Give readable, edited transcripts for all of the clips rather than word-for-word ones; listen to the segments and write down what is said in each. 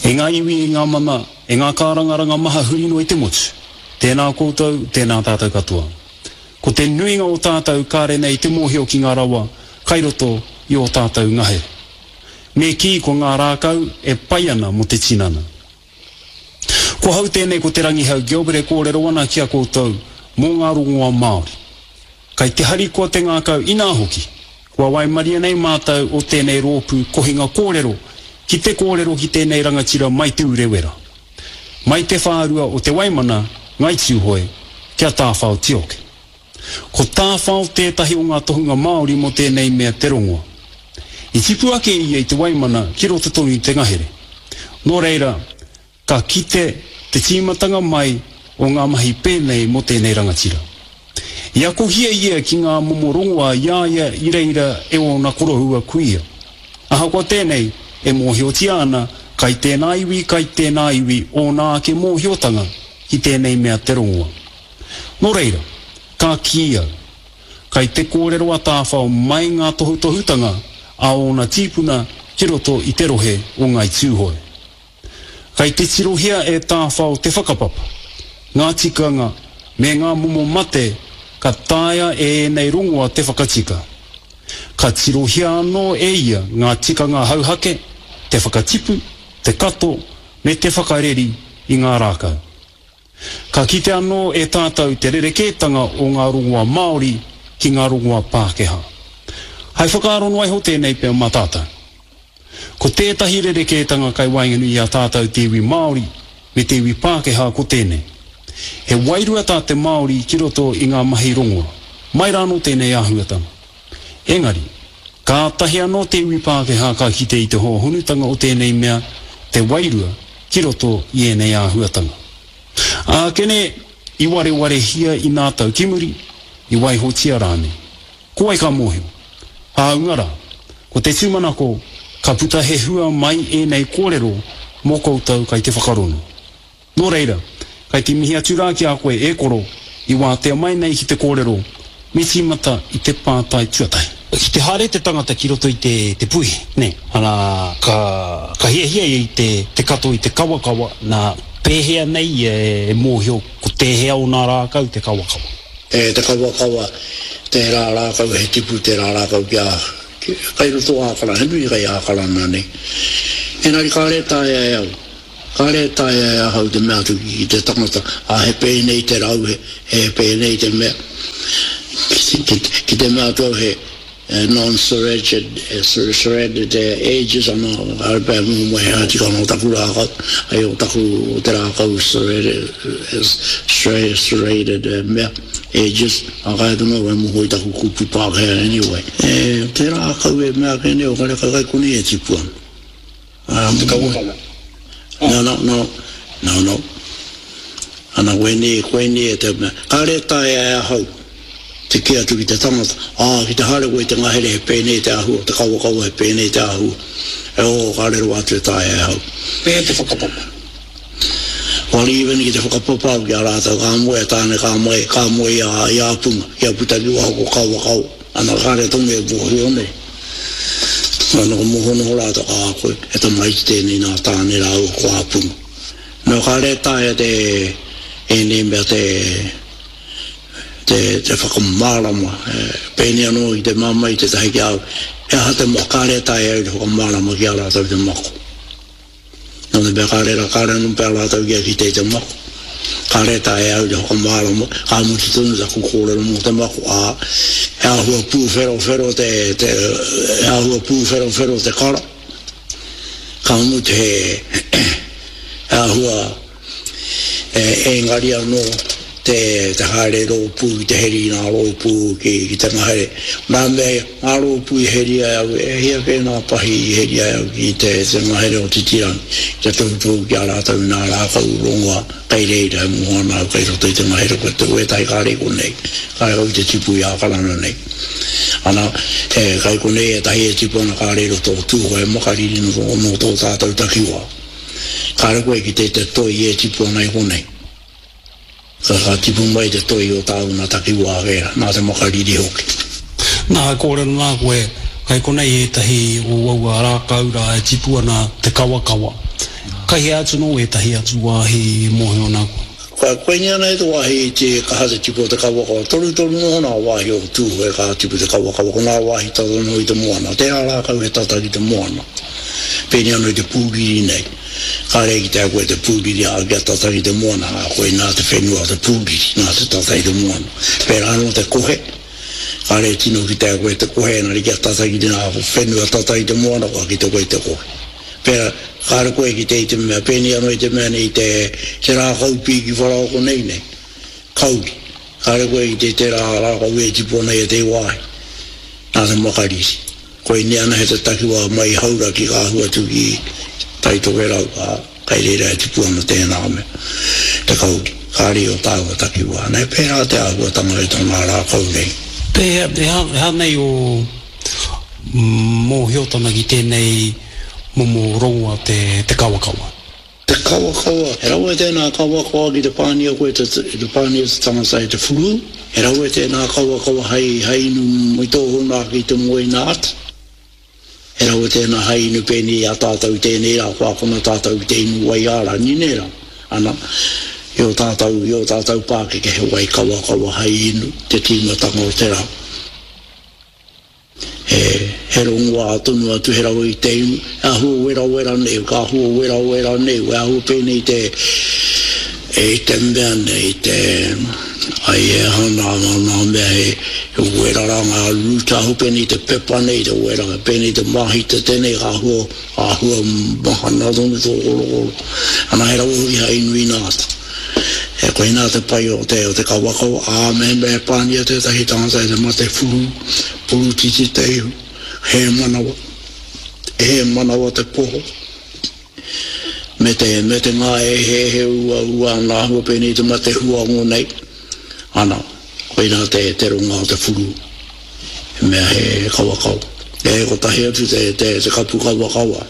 E ngā iwi, e ngā mana, e ngā kārangaranga maha huri noa i te motu, tēnā koutou, tēnā tātou katoa. Ko te nuinga o tātou kāre nei te mōhio ki ngā rawa kai roto i ō tātou ngahere. Me kī ko ngā rākau e pai ana mō te tinana. Ko hau tēnei ko Te Rangihau Gilbert e kōrero ana ki a koutou mō ngā rongoa Māori. Kai te harikoa te ngākau inā hoki, kua waimaria nei mātou o tēnei rōpū kohinga kōrero ki te kōrero ki tēnei rangatira mai Te Urewera, mai te whārua o Te Waimana, Ngai Tūhoe, kia Tāwhao Tioke. Ko Tāwhao tētahi o ngā tohunga Māori mō tēnei mea te rongoa. I tipu ake ia i Te Waimana ki roto tonu i te ngahere. Nō reira, ka kite te tīmatanga mai o ngā mahi pēnei mō tēnei rangatira. I akohia ia ki ngā momo rongoa i a ia i reira e ōna koroua kuia. Ahakoa tēnei, e mōhiotia ana kai tēnā iwi, kai tēnā iwi ōna ake mōhiotanga ki tēnei mea te rongoa. Nō reira, ka kī au, kai te kōrero a Tāwhao mai ngā tohutohutanga a ōna tīpuna ki roto i te rohe o Ngāi Tūhoe. Kai te tirohia e Tāwhao te whakapapa, ngā tikanga me ngā momo mate ka taea e ēnei rongoa te whakatika. Ka tirohia anō e ia ngā tikanga hauhake, te whakatipu, te kato me te whakareri i ngā rākau. Ka kite anō e tātou te rerekētanga o ngā rongoa Māori ki ngā rongoa Pākehā. Hai whakaaro noa iho tēnei pea mā tātou. Ko tētahi rerekētanga kai waenganui i a tātou te iwi Māori me te iwi Pākehā ko tēnei. He wairua tā te Māori ki roto i ngā mahi rongoa. Mai rānō tēnei āhuatanga. Engari, kātahi anō te iwi Pākehā ka kite i te hōhonutanga o tēnei mea, te wairua, ki roto i ēnei āhuatanga. Ākene, i warewarehia i nā tau ki muri, i waihotia rānei. Ko wai ka mōhio? Hāunga rā, ko te tūmanako, ka puta he hua mai ēnei kōrero mō koutou kai te whakarongo. Nō reira, kai te mihi atu rā ki a koe e koro, i wātea mai nei ki te kōrero, me tīmata i te pātai tuatahi. Ki te haere te tangata ki roto i te te puihi, nē, ana, ka, ka hiahia ia i te, te kato i te kawakawa, nā, pēhea nei ia e mōhio ko tēhea o nā rākau te kawakawa? E te kawakawa, tērā rākau he tipu tērā rākau kia, kai roto Ākara, he nui kai Ākarana nei. Engari kāre e taea e au. Kāre e taea e ahau te mea atu ki te tangata, ā, he pēnei te rau, he, he pēnei te mea. Ki, ki, ki te mea atu au he non-serrated, serrated edges ana, kāre pea e momo he aha tikanga o taku rākau, hei o taku, o te rākau serrated, serrated mea, edges, ā, kāre tonu au e moho i taku kupu Pākehā anyway. E, te rākau e mea ake nei, o kare kai konei e tipu ana. Te kawakawa. No, no, no, no, no. Ana, koinei, koinei e te mea. Kāre e taea e ahau te kī atu ki te tangata, ā, ki te haere koe i te ngahere he pēnei te āhua, te kawakawa he pēnei te āhua. E oh, kāre rawa atu e taea e ahau. Pēhea te whakapapa? Well, even ki te whakapapa au ki a rātou, ka moe a Tāne, ka moe, ka moe i a, i a Punga, kia puta ki waho ko kawakawa. Ana kāre tonu e mōhio nei. Ana ka moho noho rātou, ā, koe, he tamaiti tēnei nā Tāne rāua ko Āpunga. Nō kāre e taea te, ēnei mea te, te, te whakamārama, e, pēnei anō i te māmā i tētahi ki a au, he aha te mako, kāre e taea au te whakamārama ki a rātou te mako. Nō te mea kāre rā, kāre anō pea rātou kia kite i te mako. Kāre e taea e au te whakamārama, ka mutu tonu taku kōrero mō te mako, ā, he āhua pūwherowhero te, te, he āhua pūwherowhero te kara. Ka mutu he, he āhua. Engari anō te haere rōpū ki te heri i ngā rōpū ki te ngahere. Nā mea ngā rōpū i heria e au, e hia kē ngā pahi i heria e au ki te ngahere o Titirangi, ki te tohutohu ki a rātou i ngā rākau rongoa kei reira e moho ana au kei roto i te ngahere ko te wētahi kāre i konei, kāre kau i te tipu i Ākarana nei. Ana, kei konei ētahi e tipu ana kāre i roto o Tūhoe, Makariri nō tō tātou takiwā. Kāre koe ki te te toi e tipu ana i konei. Ka, ka tipu mai te toi o tāu nā takiwā wērā, nā te makariri hoki. Nā, e kōrero nā koe, kei konei ētahi o aua rākau rā e tipu ana te kawakawa. Kai hea atu nō ētahi atu wāhi e mōhio ana koe? Kua koinei ana e te wāhi i te kaha te tipu o te kawakawa. Torutoru noho nā wāhi o Tūhoe ka tipu te kawakawa. Ko nā wāhi tata noho i te moana. Tērā rākau he tata ki te moana. Pēnei anō i te pūriri nei. Kāre e kitea koe te pūriri ā kia tata ki te moana, ā, koinā te whenua o te pūriri, nā te tata i te moana. Pērā anō te kohe. Kāre e tino kitea koe te kohe, engari kia tata ki te nā whenua tata i te moana kua kite koe i te kohe. Pērā, kāre koe e kite i te mea, pēnei anō i te mea nei i te, te rākau pīki wharaoko nei nei, kauri. Kāre koe e kite i tērā rākau e tipu ana i ētehi wāhi, nā te makariri. Koinei anahe te takiwā mai i Hauraki ka ahu atu ki Tai Tokerau, ā, kai reira e tipu ana tēnā mea, te kauri. Kāre i o tāua takiwā. Nā, he pērā te āhuatanga i tō ngā rākau nei. Pēhea, he aha, he aha nei ō mōhiotanga ki tēnei momo rongoa te, te kawakawa? Te kawakawa, he rawe tēnā kawakawa ki te pānia koe te, te pānia te tangata e te whurū, he rawe tēnā kawakawa hei, hei inu i tōhona ake i te moe ina ata. He rawe tēnā hei inu pēnei i a tātou i tēnei rā, kua akona tātou ki te inu wai ārangi nē rā. Ana, i ō tātou, i ō tātou pākeke he wai kawakawa hei inu te tīmatanga o te rā. He, he rongoā tonu atu, he rawe i te inu, he āhua werawera nei, ka āhua werawera nei, he āhua pēnei i te, i te mea nei, i te, ai e aha nā, nā, nā mea he, he wera rā ngā root, āhua pēnei i te pepa nei, te wera, pēnei i te māhita tēnei, ka āhua, āhua mahana tonu tō korokoro. Ana he rawe hoki hai inu ina ata. E koinā te pai o te, o te kawakawa, ā, mehemea e pāngia tētahi tangata e te mate whurū, purutiti te ihu, hē manawa, hē manawa te poho, me te, me te ngāeheehe uaua ana āhua pēnei i te mate huango nei, ana, koinā te, te ronga o te whurū, he mea he kawakawa. E kotahi atu te, te, te kapu kawakawa.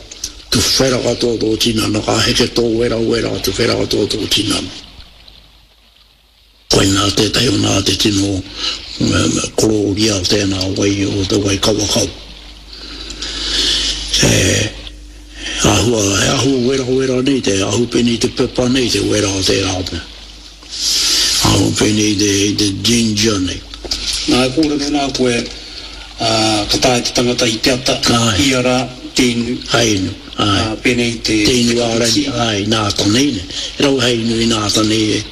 Tuwhera katoa tō tinana, ka heke tō werawera, tuwhera katoa tō tinana. Koinā tētahi o nā te tino korōria o tēnā wai, o te wai kawakawa. He āhua, he āhua werawera nei te ahu pēnei te pepa nei te wera o tērā mea. Ahu pēnei i te, i te ginger nei. Nā, e kōrero nā koe, ā, ka taea te tangata i te ata, ia rā, te inu. Hai inu, āe. Ā, pēnei i te. Te inu ā-rangi, āe, nā tanei nei. He rawe hai inu i nā tanei e.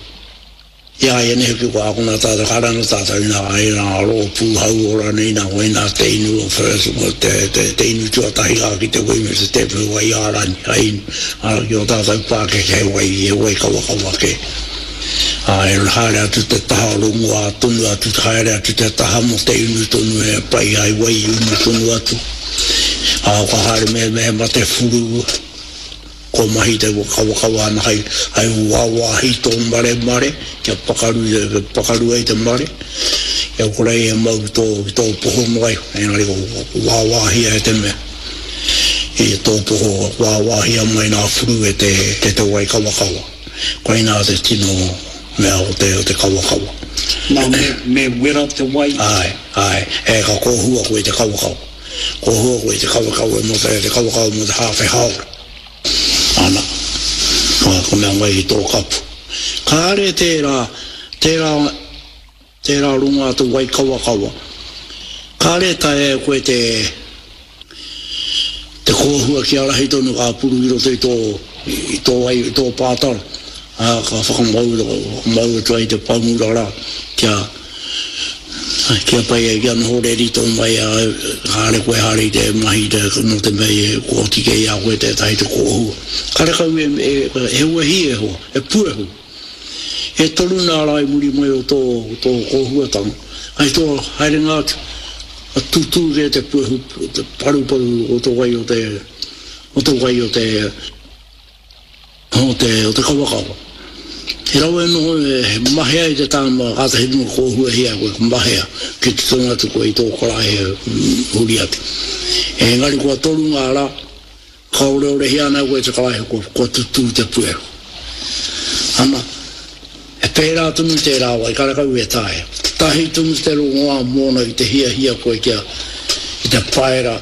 I a ia nei hoki kua akona tātou, ka ranga tātou i nā, i nā rōpū hauora nei nā, koinā te inu o first, te, te, te inu tuatahi rā ki te wai me te tēpu wai ā-rangi, hai inu. Ā, ki ō tātou pākeke he wai, he wai kawakawa kē. Ā, e haere atu te taha rongoā tonu atu, haere atu te taha mō te inu tonu he pai hai wai unu tonu atu. Ā, ka haere me, me he mate whuru, kua mahi te kawakawa ana hai, hai wāwāhi tō maremare, kia pakaru, kia pakaru ai te mare, kia kore ai e mau ki tō, ki tō poho noa iho, engari ko wāwāhia e te mea. I tō poho wāwāhia mai nā whuru e te, te, te wai kawakawa. Koinā te tino mea o te, o te kawakawa. Nā, me, me wera te wai? Āe, āe. E, ka kōhua koe i te kawakawa. Kōhua koe i te kawakawa mō te, te kawakawa mō te hāwhe hāora. Ana, ka, ka mea mai ki tō kapu. Kāre tērā, tērā, Tērā rongoā te wai kawakawa. Kāre e taea e koe te te kōhua kia rahi tonu ka puru i roto i tō i tō wai i tō pātara, ā, ka whakamau whakamau atu ai te pamura rā kia kia pai ai kia noho reri tō mai ā, kāre koe haere i te mahi te nō te mea i kua oti kē i a koe tētahi te kōhua. Karekau e e he wehi e hoa, he puehu. E toru nā rā i muri mai o tō, tō kōhuatanga, hei tō haerenga atu, ka tutū kē te puehu, te paruparu o te wai o te, o te wai o te, o te, o te kawakawa. He rawe noho e mahea i te tāma kātahi noa kōhuahia koe, ka mahea ki te tonu atu koe i tō karaehe huri atu. Engari kua toru ngā rā, Ka oreorehia ana koe te karaehe kua, kua tutū te puehu. Ana, he pērā tonu tērā wai, karekau e taea. Tahi tonu te rongoā mōna ki te hiahia koe kia, ki te paera,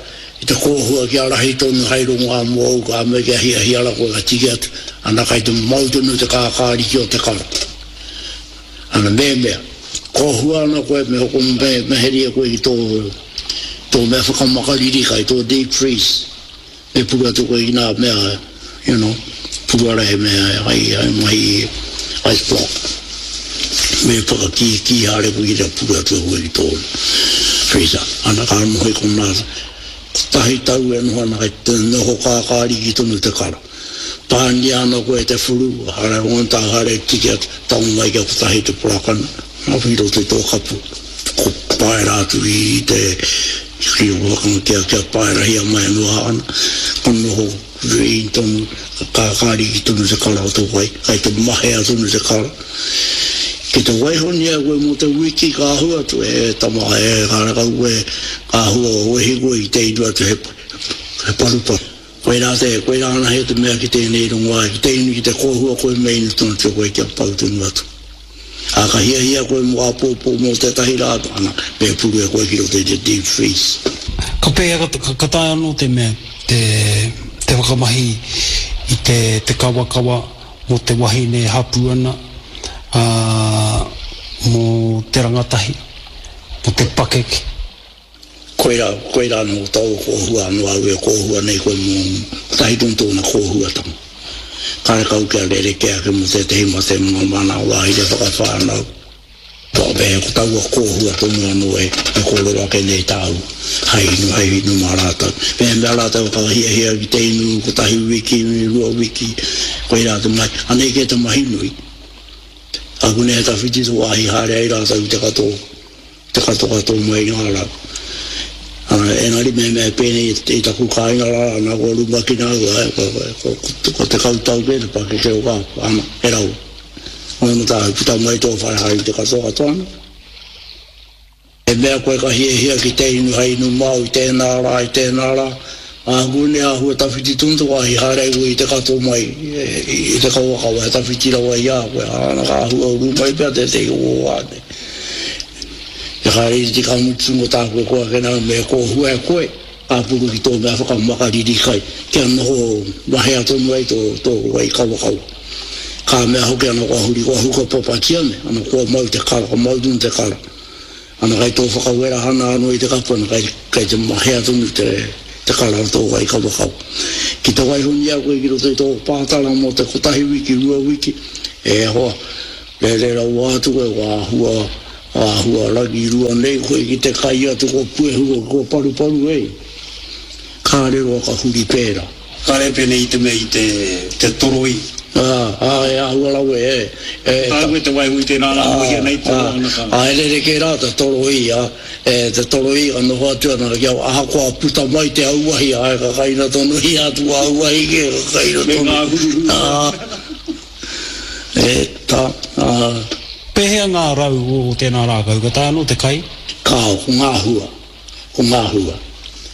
I te kōhua kia rahi tonu hai rongoā mōu ka mea kia hiahia ra koe ka tiki atu, ana kai te mau tonu te kākāriki o te kara. Ana mehemea, kōhua ana koe me hoko me, me heria koe ki tō, tō mea whakamakariri kai, tō deep freeze. Me puru atu koe ki nā mea, you know, puru ara he mea hai, hai mahi ice block. Me whakakīkī haere koe ki te puru atu e koe ki tō freezer. Ana ka noho i konā, kotahi tau e noho ana kei te noho kākāriki tonu te kara. Pānia ana koe e te whuru, haere rongo tāu haere tiki atu, tango mai kia kotahi te porakana, i roto i tō kapu. Ko paera atu i te ki waka kia kia paerahia mai anō a ana, ka noho green tonu, ka kākāriki tonu te kara o te wai, kai te mahea tonu te kara. Ki te waihonia koe mō te wiki ka ahu atu, e tama, e karekau koe, ka hua wehi koe ki te inu atu he, he paruparu. Koirā te, koirā anahe te mea ki tēnei rongoā, ki te inu, ki te kōhua koe me inu tonu atu koe kia pau tonu atu. Ā, ka hiahia koe mō āpōpō mō tētahi rā, ana, me puru e koe ki roto i te deep freeze. Ka pēhea, ka, ka taea anō te mea te, te whakamahi i te, te kawakawa mō te wahine e hapū ana, ā, mō te rangatahi, mō te pakeke? Koirā, koirā anō tōu kōhua anō au e kōhua nei koe mō kotahi tonu tōna kōhuatanga. Karekau kia rerekē ake mō tētehi mate mō ngā mana wāhi te whakawhānau. Tō me ko taua kōhua tonu anō e kōrero ake nei tāu hai inu, hai inu mā rātou. Mehemea rātou ka hiahia ki te inu kotahi wiki, rua wiki, koirā te mahi. Anei kē te mahi nui. Akune he tawhiti te wāhi haere ai rātou ki te katoa. Te katokato mai i ngā rau. Engari mehemea e pēnei i taku kāinga rā, ana kua rumakina au, ko 10 tau kē te pakeke o kā, ana, he rawa. Ōna tāu, puta mai tō whare haere i te katokato ana. He mea koe ka hiahia ki te inu hei inu māu i tēnā rā, i tēnā rā, āku nei āhua tawhiti tonu te wāhi haere ai koe i te kato mai i te kawakawa, he tawhiti rawa i a koe, āna ka āhua uru mai pea tētehi o ō wā nei. Te haere ka mutu mo tāku e koa ake nā me kōhua e koe, ka puru ki tō mea whakamakariri kai, kia noho mahea tonu ai tō, tō wai kawakawa. Ka mea hoki ana kua huri, kua huka papatia me, ana kua mau te kara, ka mau tonu te kara. Ana kai tō whakawerahana anō i te kapu, ana kai, kai te mahea tonu te, te kara o tō wai kawakawa. Ki te waihonia koe ki roto i tō pātara mō te kotahi wiki, rua wiki, e hoa, Rere rawa atu koe, kua āhua, āhua rangirua nei koe ki te kai atu, kua puehu, kua paruparu ei. Kāre roa ka huri pērā. Kāre pēnei i te mea i te, te toroi. Ā, ā, e āhua rawe, e, e. Tāu e te waiho i tērā rā, mohia nei toro ana ka. Ā, e rerekē rā te toroi, ā, e, te toroi ka noho atu ana kia, ahakoa puta mai te auahi, āe, ka kaina tonu ia atu auahi kē, ka kaina tonu. Me ngā huruhuru. Ā. E ta, a. Pēhea ngā rau o tēnā rākau? Ka taea anō te kai? Kāo, ko ngā hua. Ko ngā hua.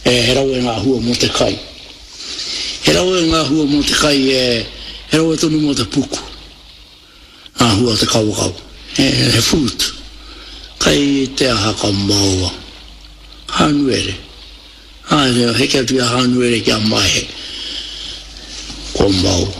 E, he rawe ngā hua mō te kai. He rawe ngā hua mō te kai, e, he rawe tonu mō te puku. Ngā hua o te kawakawa. He, he fruit. Kai te aha ka maoa. Hānuere. Āe, kia heke atu i a Hānuere ki a Maehe, kua mau.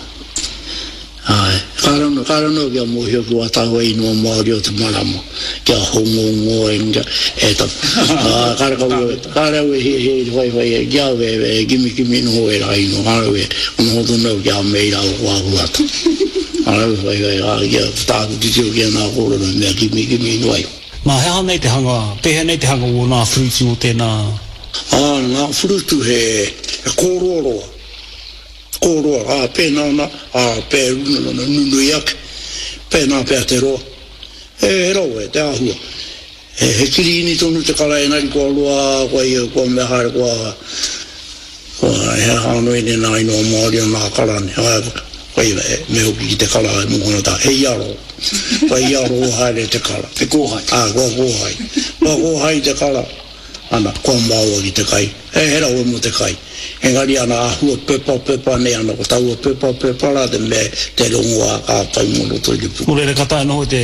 Āe, kāre anō, kāre anō kia mōhio ki wā tāua ingoa Māori o te marama, kia Hongongoi, kia, e ta, ā, kāre kau au, kāre au e hiahia i te whaiwhai e, ki a au e, e kimikimi noho ērā ingoa, kāre au e, noho tonu au ki a Meira o ko Āhuata. Kāre au e whaiwhai, ā, kia tāku titiro ki ana kōrero he mea kimikimi noa iho. Nā, he aha nei te hanga, pēhea nei te hanga o nā whurutu o tēnā? Ā, ngā whurutu he, he kōroaroa, kōroa, ā, pēnā nā, ā, pē nunui ake, pēnā pea te roa. He, he rawe te āhua. He, he kirīni tonu te kara engari kua roa, kua ia, kua mea haere, kua, kua, he aha anō ēnei nā ingoa Māori o nā kara nei, ā, kua ia, me hoki ki te kara e mōhio ana tā, he iaro. Kua iaro haere te kara. Te kōhai. Ā, kua kōhai. Kua kōhai te kara, ana, kua maoa ki te kai. He, he rawe mō te kai. Engari ana, āhua pepapepa nei ana, ko taua pepapepa rā te mea, te rongoā ka pai mō roto i te puku. Nō reira, ka taea noho te,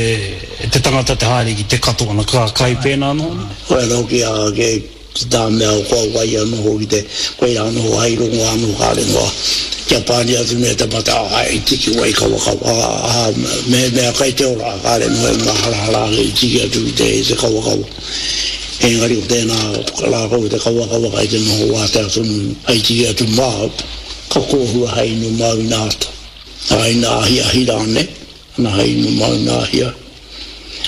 te tangata te haere ki te kato ana, ka kai pēnā noho nei? Koia hoki a, kei. Ki tā mea o kua wai anō hoki te, koirā noho hai rongo anō kāre noa kia pāni atu nei te mate, ā, i tiki wai kawakawa, ā, mehemea kai te ora, kāre noa e māharahara ake i tiki atu ki te, te kawakawa. Engari ko tēnā rākau te kawakawa kai te noho wātea tonu hai tiki atu māu, ka kōhua hai inu māu ina ata, ā, ina ahiahi rānei. Ana hei inu mau nā hia.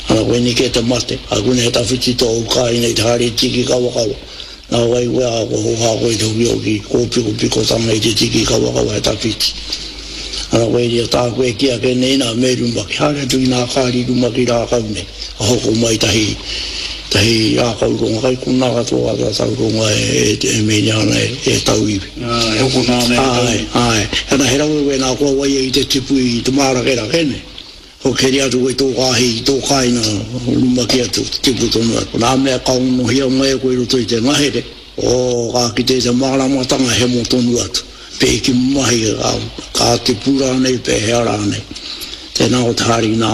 Ana koinei kē te mate, a koinei he tawhiti tōu kāinga i te haere tiki kawakawa. Nā wai koe a kua hōhā koe i te hokihoki kōpikopikotanga i te tiki kawakawa he tawhiti. Ana koiria tāku e kī ake nei nā me rumaki, haere atu ki nā kāri rumaki rākau nei, ka hoko mai tahi tahi rākau ronga kai konā katoa a tātou ronga e e menia ana e e tauiwi. E hokona ana e tauiwi. Āe, āe. Ana he rawe wēnā kua waia i te tipu i te mārakerake nei. Kua keri atu koe i tō kāhi, i tō kāinga, rumaki atu, tipu tonu atu. Nā mea ka onohia mai e koe i roto i te ngahere, oh, ka kite i te māramatanga hemo tonu atu. Pēki mahi, ka, ka tipu rānei, pēhea rānei. Tēnā ko te haere ki nā,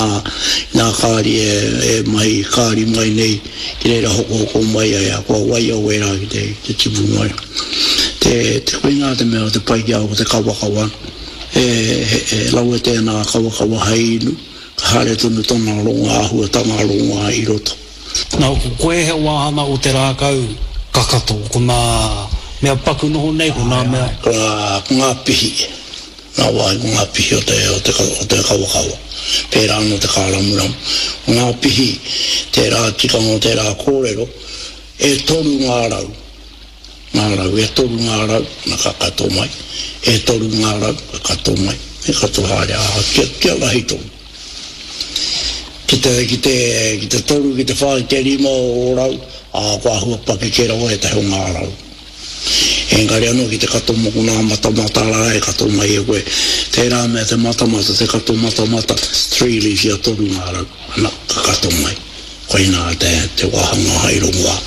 ki nā kāri e, e mahi kāri mai nei, ki reira hokohoko mai ai, a kua waia wērā ki te, ki te tipu mai. Te, te koinā te mea o te pai ki a au ko te kawakawa. He, he, he rawe tēnā kawakawa hei inu, ka haere tonu tana ronga āhuatanga rongoā i roto. Nā, ko koe he wāhanga o te rākau kakato, ko ngā mea paku noho nei, ko ngā mea. Ko ngā, ko ngā pihi, ngā wāhi ko ngā pihi o te, o te, o te kawakawa. Pērā anō te kāramuramu. Ko ngā pihi, tērā tikanga o tērā kōrero, e toru ngā rau. Ngā rau, e toru ngā rau, na ka kato mai, e toru ngā rau, ka kato mai, me kato haere, ā, kia, kia rahi tonu. Ki te, ki te, ki te toru, ki te whā, ki te rima o ō rau, ā, kua āhua pakeke rawa ētahi o ngā rau. Engari anō ki te kato moko nā matamata rā e kato mai e koe, tērā mea te matamata, te kato matamata, three leaf ia toru ngā rau, ana, ka kato mai. Koinā te, te wāhanga hai rongoā.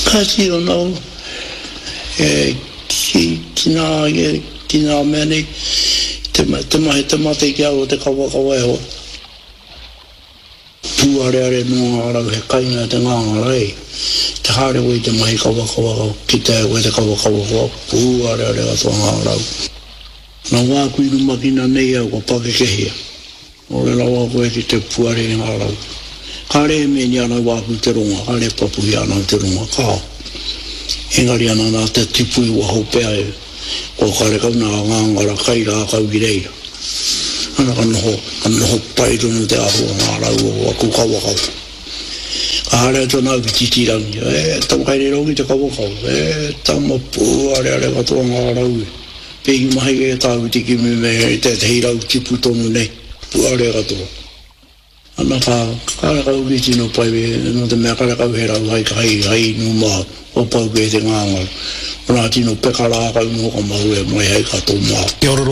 Kāti anō, e, ki, ki nā, ki nā mea nei, te, te mahi, te mate ki au o te kawakawa e hoa. Pūareare noa ngā rau he kainga te ngāngara e. Te haere koe i te mahi kawakawa, kitea e koe te kawakawa kua pūareare katoa ngā rau. Nā wāku i rumakina nei au kua pakekehia. Ore rawa koe ki te puare i ngā rau. Kāre e mēni ana wāku te ronga, kāre e papuhia ana te ronga, kāo. Engari ana nā te tipu i waho pea e, kua karekau nā ngāngara kai rākau ki reira. Ana ka noho, ka noho pai tonu te āhua o ngā rau o aku kawakawa. Ka haere atu ana au ki Titirangi, e tama kai reira hoki te kawakawa, e tama pūareare katoa ngā rau e. Pēhi mahi e tāu te kimi me tētehi rau tipu tonu nei, puare katoa. Ana ka, karekau ki tino pai, nō te mea karekau he rau hai, hai, hai inu māu, kua pau kē te ngāngara. Ko nā tino peka rākau noho ka mahue mai hai kato māu. Kia ora.